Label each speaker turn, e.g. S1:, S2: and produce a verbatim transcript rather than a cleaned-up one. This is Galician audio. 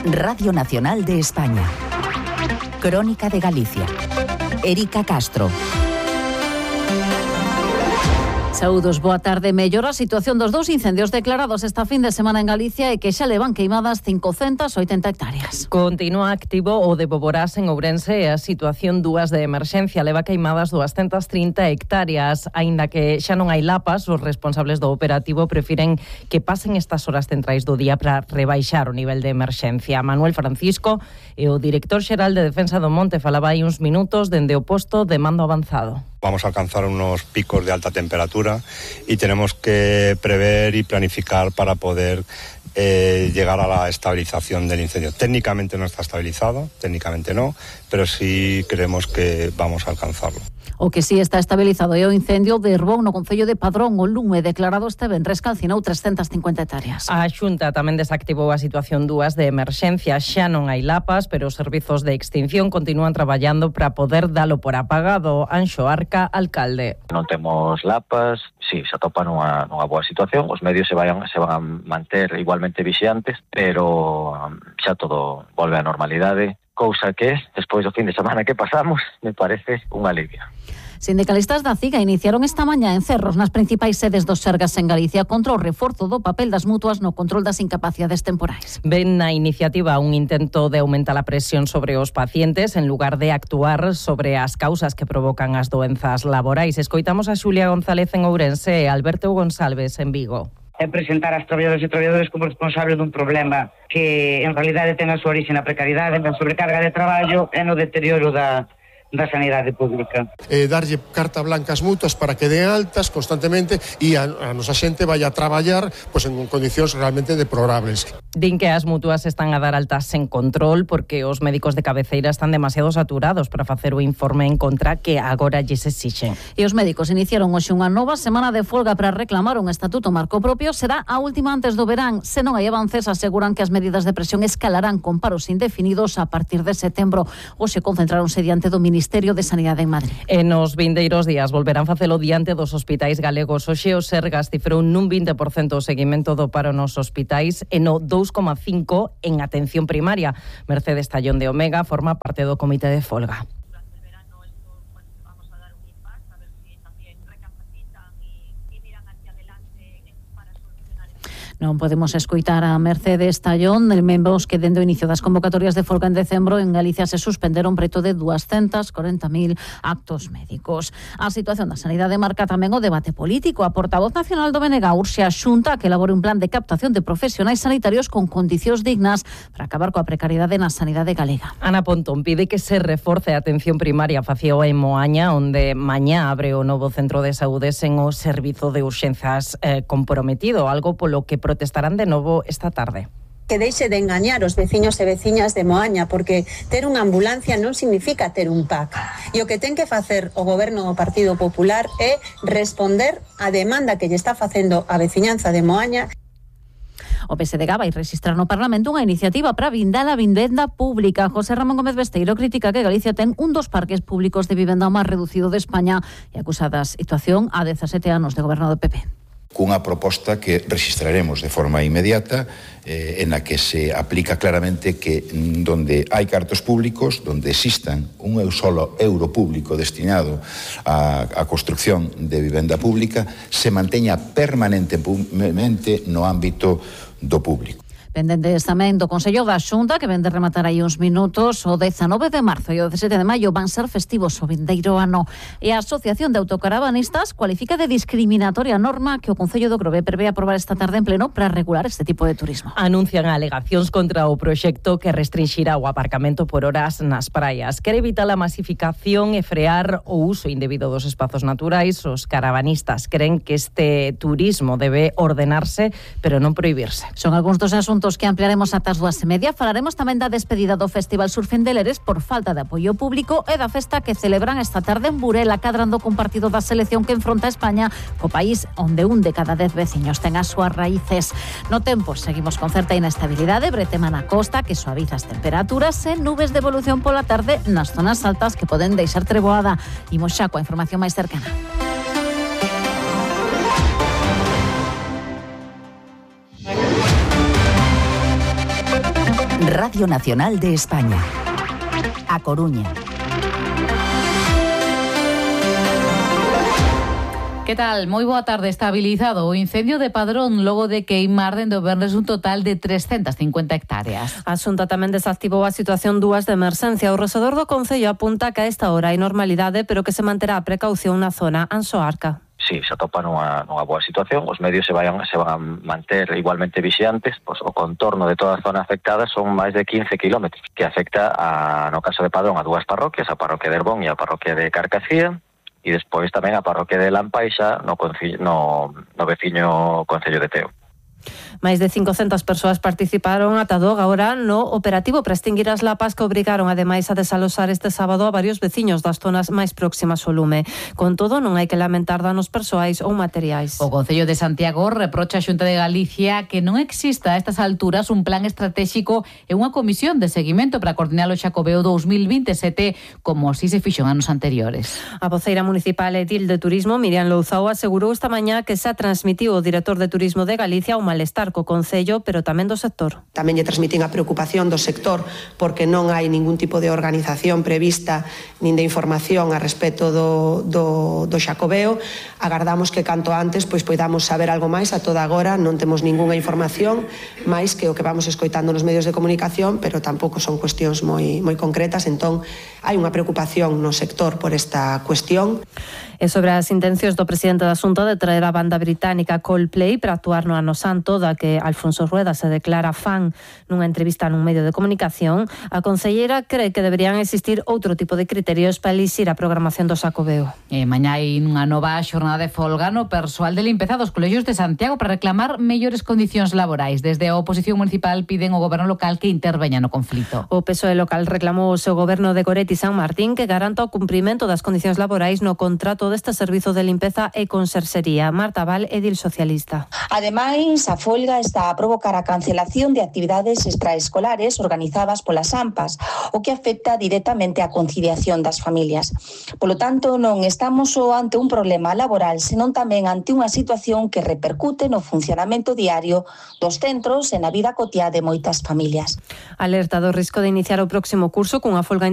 S1: Radio Nacional de España. Crónica de Galicia. Erika Castro.
S2: Saúdos, boa tarde. Mellora a situación dos dous incendios declarados esta fin de semana en Galicia e que xa levan queimadas cincocentas oitenta hectáreas.
S3: Continúa activo o de Boborás en Ourense e a situación dúas de emerxencia leva queimadas duascentas trinta hectáreas. Aínda que xa non hai lapas, os responsables do operativo prefiren que pasen estas horas centrais do día para rebaixar o nivel de emerxencia. Manuel Francisco e o director xeral de Defensa do Monte falaba hai uns minutos dende o posto de mando avanzado.
S4: Vamos a alcanzar unos picos de alta temperatura y tenemos que prever y planificar para poder eh, llegar a la estabilización del incendio. Técnicamente no está estabilizado, técnicamente no, pero sí creemos que vamos a alcanzarlo.
S2: O que sí está estabilizado é o incendio de Herbón no concello de Padrón. O lume declarado este venres calcinou trescentas cincuenta hectáreas.
S3: A Xunta tamén desactivou a situación dúas de emerxencia. Xa non hai lapas, pero os servizos de extinción continúan traballando para poder dalo por apagado. Anxo Arca, alcalde.
S5: Non temos lapas, si, sí, se atopa nunha, nunha boa situación. Os medios se, vayan, se van a manter igualmente vixiantes, pero xa todo volve á normalidade. Cousa que, despois do fin de semana que pasamos, me parece un alivio.
S2: Sindicalistas da CIGA iniciaron esta mañá en Cerros nas principais sedes dos Sergas en Galicia contra o reforzo do papel das mutuas no control das incapacidades temporais.
S3: Ven na iniciativa un intento de aumentar a presión sobre os pacientes en lugar de actuar sobre as causas que provocan as doenzas laborais. Escoitamos a Xulia González en Ourense e Alberto González en Vigo.
S6: É presentar as traballadoras e traballadores como responsables dun problema que en realidade ten a súa orixe na precariedade, na sobrecarga de traballo e no deterioro da, da sanidade pública.
S7: Eh, darlle carta blanca ás mutuas para que den altas constantemente e a, a nosa xente vai a traballar pues, en condicións realmente deplorables.
S3: Din que as mutuas están a dar altas sen control porque os médicos de cabeceira están demasiado saturados para facer o informe en contra que agora lles exixen.
S2: E os médicos iniciaron hoxe unha nova semana de folga para reclamar un estatuto marco propio. Será a última antes do verán. Se non hai avances, aseguran que as medidas de presión escalarán con paros indefinidos a partir de setembro. Hoxe concentraronse diante do Ministerio de Sanidade en Madrid.
S3: E nos vindeiros días volverán facelo diante dos hospitais galegos. Hoxe o Sergas cifrou nun vinte por cento o seguimento do paro nos hospitais e no dous coma cinco en atención primaria. Mercedes Tallón de Omega forma parte do comité de folga.
S2: Non podemos escoitar a Mercedes Tallón, membros que dende o inicio das convocatorias de folga en decembro en Galicia se suspenderon preto de duascentos corenta mil actos médicos. A situación da sanidade marca tamén o debate político. A portavoz nacional do B N G urxe a Xunta que elabore un plan de captación de profesionais sanitarios con condicións dignas para acabar coa precariedade na sanidade galega.
S3: Ana Pontón pide que se reforce a atención primaria faceo en Moaña, onde mañá abre o novo centro de saúde sen o servizo de urxenzas eh, comprometido, algo polo que protestarán de novo esta tarde.
S8: Que deixe de engañar os veciños e veciñas de Moaña, porque ter unha ambulancia non significa ter un P A C. E o que ten que facer o goberno do Partido Popular é responder á demanda que lle está facendo a veciñanza de Moaña.
S2: O P S D G vai registrar no Parlamento unha iniciativa para blindar a vivenda pública. José Ramón Gómez Besteiro critica que Galicia ten un dos parques públicos de vivenda máis reducido de España e acusa da situación a dezasete anos de goberno do P P.
S9: Cunha proposta que registraremos de forma inmediata eh, en la que se aplica claramente que donde hai cartos públicos, donde existan un solo euro público destinado a, a construcción de vivenda pública, se manteña permanentemente no ámbito do público.
S2: Pendentes tamén do Consello da Xunta, que ven de rematar aí uns minutos, o dezanove de marzo e o dezasete de maio van ser festivos o vindeiro ano. E a Asociación de Autocaravanistas cualifica de discriminatoria a norma que o Concello do Grove prevé aprobar esta tarde en pleno para regular este tipo de turismo.
S3: Anuncian alegacións contra o proxecto que restringirá o aparcamento por horas nas praias. Quere evitar a masificación e frear o uso indebido dos espazos naturais. Os caravanistas creen que este turismo debe ordenarse, pero non prohibirse.
S2: Son algúns dos asuntos que ampliaremos ata as dúas e media. Falaremos tamén da despedida do Festival Surfing de Leres por falta de apoio público e da festa que celebran esta tarde en Burela, cadrando con partido da selección que enfronta a España co país onde un de cada dez veciños ten as súas raíces. No tempo, seguimos con certa inestabilidade, bretema na costa que suaviza as temperaturas e nubes de evolución pola tarde nas zonas altas que poden deixar treboada. Imos xa coa información máis cercana.
S1: Radio Nacional de España. A Coruña.
S2: Que tal? Moi boa tarde. Estabilizado o incendio de Padrón logo de queimar dende o venres un total de trescentas cincuenta hectáreas.
S10: A Xunta tamén desactivou a situación dúas de emerxencia. O rexedor do Concello apunta que a esta hora hai normalidade, pero que se manterá a precaución na zona Ansoarca.
S5: Sí, se atopa nunha, nunha boa situación, os medios se vayan se van a manter igualmente vixiantes, pois o contorno de toda a zona afectada son máis de quince kilómetros, que afecta, a, no caso de Padrón, a dúas parroquias, a parroquia de Herbón e a parroquia de Carcacía, e despois tamén a parroquia de Lampaixa no, no, no veciño Concello de Teo.
S10: Máis de cincocentas persoas participaron ata do agora no operativo para extinguir as lapas que obrigaron ademais a desalosar este sábado a varios veciños das zonas máis próximas ao lume. Con todo, non hai que lamentar danos persoais ou materiais.
S2: O Concello de Santiago reprocha a Xunta de Galicia que non exista a estas alturas un plan estratégico e unha comisión de seguimento para coordinar o Xacobeo dous mil vinte e sete como si se fixo en anos anteriores.
S10: A voceira municipal edil de Turismo, Miriam Louzao, asegurou esta mañá que xa transmitiu o director de Turismo de Galicia o malestar co Concello, pero tamén do sector.
S11: Tamén lle transmitín a preocupación do sector porque non hai ningún tipo de organización prevista nin de información a respecto do, do, do Xacobeo. Agardamos que canto antes pois poidamos saber algo máis. A toda agora non temos ningunha información máis que o que vamos escoitando nos medios de comunicación, pero tampouco son cuestións moi, moi concretas. Entón, hai unha preocupación no sector por esta cuestión.
S10: E sobre as intencións do presidente da Xunta de traer a banda británica Coldplay para actuar no Ano Santo, da que Alfonso Rueda se declara fan nunha entrevista nun medio de comunicación, a concelleira cree que deberían existir outro tipo de criterios para elixir a programación do Xacobeo.
S2: E mañá hai unha nova xornada de folga no persoal de limpeza dos colexios de Santiago para reclamar mellores condicións laborais. Desde a oposición municipal piden ao goberno local que interveña no conflito.
S10: O P S O E local reclamou o seu goberno de Goretti San Martín que garanta o cumprimento das condicións laborais no contrato deste servizo de limpeza e conserxería. Marta Val, edil socialista.
S12: Ademais, a folga está a provocar a cancelación de actividades extraescolares organizadas polas AMPAs, o que afecta directamente a conciliación das familias. Polo tanto, non estamos só ante un problema laboral, senón tamén ante unha situación que repercute no funcionamento diario dos centros e na vida cotiá de moitas familias.
S10: Alerta do risco de iniciar o próximo curso cunha folga